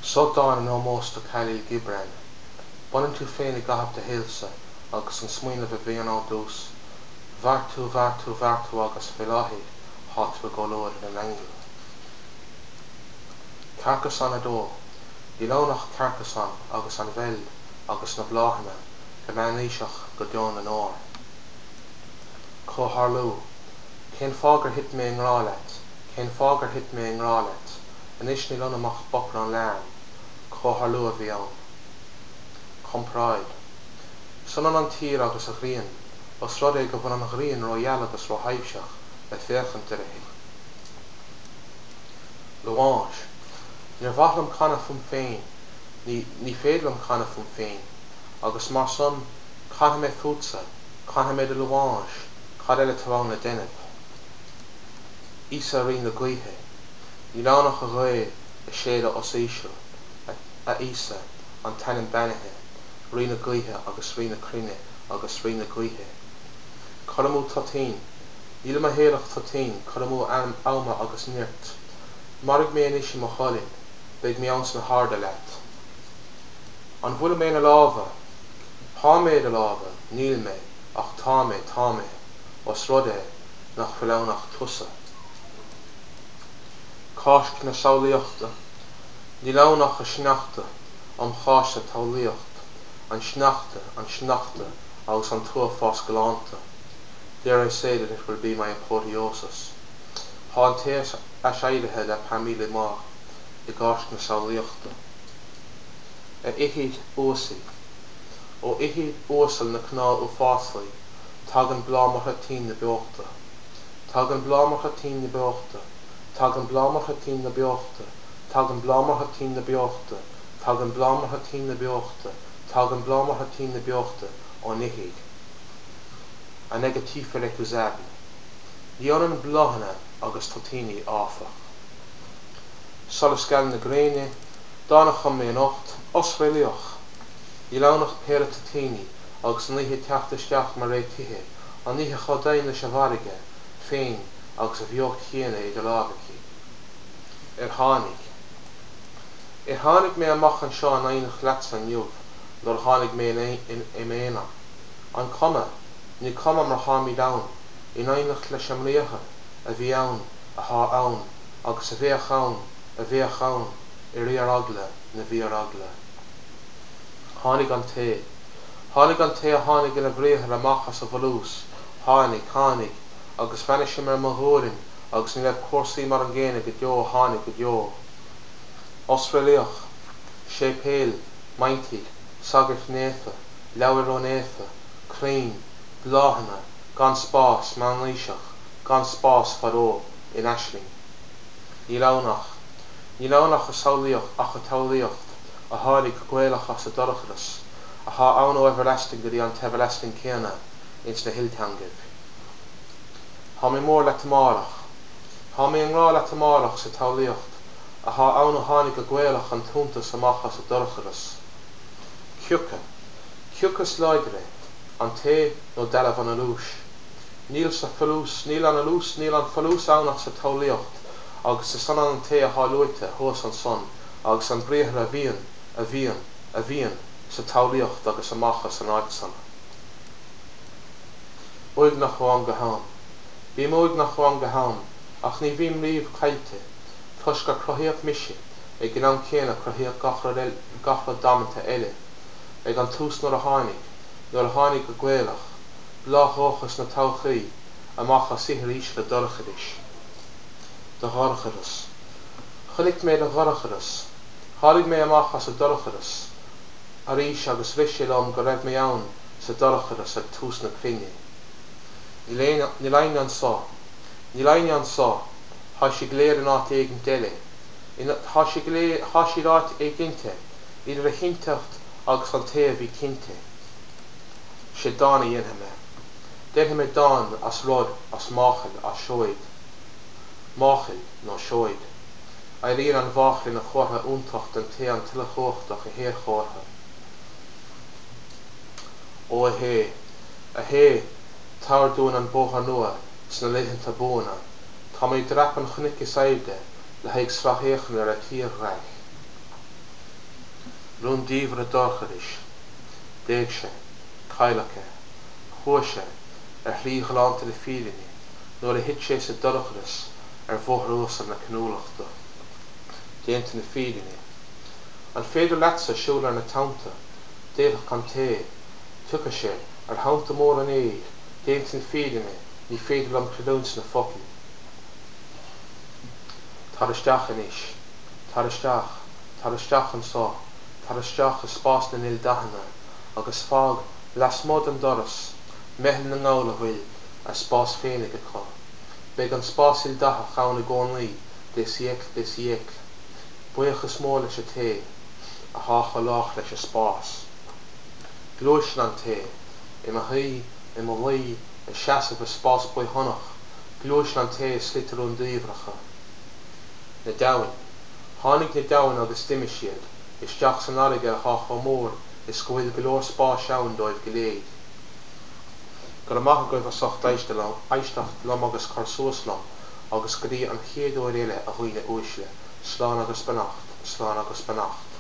Seo dán in ómós do Khalil Gibran. Baineann tú féin i gcaitheamh do shaolsa agus an smaoineamh a bhíonn ann dtús, mhair tú, mhair tú, mhair tú agus fé láthair thá tú i gcomhluadar na n-aingeal. Carcassonne 2. Níl ann ach Carcassonne agus an mheil agus na bláthanna, go meánaoiseach go deo na ndeor. Comhtharlú. Cén fáth gur thit mé i ngrá leat? Cén fáth gur thit mé i ngrá leat? Anois níl ionam ach boprán leamhan. Comhtharlú a bhí ann. Comparáid. Is ionann an tír agus an ghrian, os rud é go bhfuil an ghrian rógheal agus róthaibhseach le féachaint uirthi. Louange. Níor mhaith liom canadh fúm féin, ní, ní féidir liom canadh fúm féin, agus mar san, canfaidh mé fútsa, canfaidh mé do louange, cad eile atá ann le déanamh? Íosa Rí na Gaoithe. Níl ann ach an ghaoth ag séideadh os íseal, a Íosa, an t-ainm beannaithe, Rí na gaoithe agus Rí na cruinne agus Rí na gaoithe. Cur amú toitín. Níl i mo shaol ach toitín, cur amú ama agus nirt. Maraigh mé anois i mo cholainn, beidh mé ann sna harda leat. An bhfuil mé ina lámha? Thá mé i do lámha, níl mé, ach tá mé, tá mé, os rud é nach bhfuil ann ach tusa. Cáisc na Samhlaíochta. Níl ann ach an sneachta um Cháisc sa tsamhlaíocht, an sneachta, an sneachta agus an t-uafás galánta. Dare I say that it will be my apotheosis. Thá an té aiséirithe le Parmi les morts i gCáisc na Samhlaíochta. A fhoichid uasail. Ó fhoichid uasal na cnámh uafásaí tagann bláth mar thoitín na beochta. Tagann bláth mar thoitín na beochta, Tagann bláth mar thoitín na beochta, Tagann bláth mar thoitín na beochta, Tagann bláth mar thoitín na beochta, Tagann bláth mar thoitín na beochta ón fhoichid. Un négatif irrécusable. Ní ionann bláthanna agus toitíní, áfach. Solas geal na gréine, dán a chum mé anocht, osréalaíoch! Níl ann ach péire toitíní agus an oíche ag teacht isteach mar réitithe, an oíche chomh domhain leis an bhfarraige féin agus a bheocht chéanna idir lámha aici. Ar tháinig. Ar tháinig mé amach anseo in éineacht leatsa inniu nuair a tháinig mé i m'aonar? An cuma? Ní cuma mar tháimid ann, in éineacht leis an mBriathar, a bhí ann, athá ann, agus a bheadh ann, a bheadh ann, i bhfíoreagla na bhfíoreagla. Tháinig an té. Tháinig an té a tháinig ina bhriathar amach as an bhfolús, tháinig, tháinig, agus bheannaigh sé mé ar mo ghualainn agus ní raibh cúrsaí mar an gcéanna go deo, tháinig, go deo. Osréalaíoch, séipéal, meintigh, sagart naofa, leabhar rónaofa, crainn, bláthanna, gan spás, meánaoiseach, gan spás, fadó, in aisling. Níl ann ach. Níl ann ach an tsamhlaíocht, ach an tsamhlaíocht, a tháinig go Gaelach as an dorchadas, athá ann ó everlasting go dtí an t-everlasting céanna ins na hilteangaibh. Thá mé mór leat amárach. Thá mé i ngrá leat amárach sa tsamhlaíocht, athá ann ó tháinig go Gaelach an t-iontas amach as an dorchadas. Cioca. Cioca is láidre, an té nó dealbh an fholúis? Níl sa folús, níl an fholús, níl an folús ann ach sa tsamhlaíocht, agus is ionann an té athá luaite thuas ansan agus an Briathar a bhíonn, a bhíonn, a bhíonn, sa tsamhlaíocht agus amach as an áit san. Uaigneach ó am go ham. Bím uaigneach ó am go ham, ach ní bhím riamh caillte, toisc gur cruthaíodh mise ag an am céanna a cruthaíodh gach rud eile, gach rud damanta eile. Ag an tús nuair a tháinig, nuair a tháinig go Gaelach, bláth dhóchas na todhchaí, amach as ithir íseal an dorchadais. Do dhorchadas. Chonaic mé do dhorchadas. Tháinig mé amach as an dorchadas arís agus rith sé liom go raibh mé ann sa dorchadas ag tús na cruinne. Níl éinne, níl éinne anso. Níl éinne anso. Thá siad go léir in áit éigint eile. In, thá siad go léir, thá siad áit éiginnte idir a chinnteacht agus an té a bhí cinnte. Sé dán a dhéanfaidh mé. Déanfaidh mé dán as rud, as máchail, as seoid. Máchail nó seoid. Éiríonn an mháchail ina comhartha iontach den té an tUilechumhachtach a shéadchomhartha. Ó a Shé, a Shé, tabhair dúinn an bóthar nua sna laethanta buana, táimid ag dreapadh an chnoic is airde le haghaidh sracfhéachana ar an tírdhreach. Rúndiamhra dorchadais. D'éag sé. Cailleadh é. Chuaigh sé, ar shlí ghalánta na fírinne, nuair a thit sé sa dorchadas ar bhóthar uasal na cinniúlachta. Déanta na fírinne. An féidir leatsa siúl ar na tonnta? D'fhéadfadh an té. Tiocfaidh sé, ar thonnta móra an aeir. Déanta na fírinne, ní féidir liom creidiúint sna focail. Tar isteach anois. Tar isteach. Tar isteach anso. Tar isteach i spás na n-ildathanna agus fág lasmuigh den doras meitheal na ngall a bhfuil a spás féinig acu. Beidh an spás ildathach ann i gcónaí des siècles des siècles. Buíochas mór leis an té athá chomh lách leis an spás. Gluaiseann an té, i mo shuí, i mo luí, ag seasamh i spás baothshonach, gluaiseann an té i slite rúndiamhracha. Na deamhain. Tháinig na deamhain agus d'imigh siad, isteach san fharraige athá chomh mór is go bhfuil go leor spáis ann dóibh go léir. Go raibh maith agaibh as ucht éisteacht liom agus cur suas liom agus go dtí an chéad uair eile a dhaoine uaisle, slán agus beannacht, slán agus beannacht.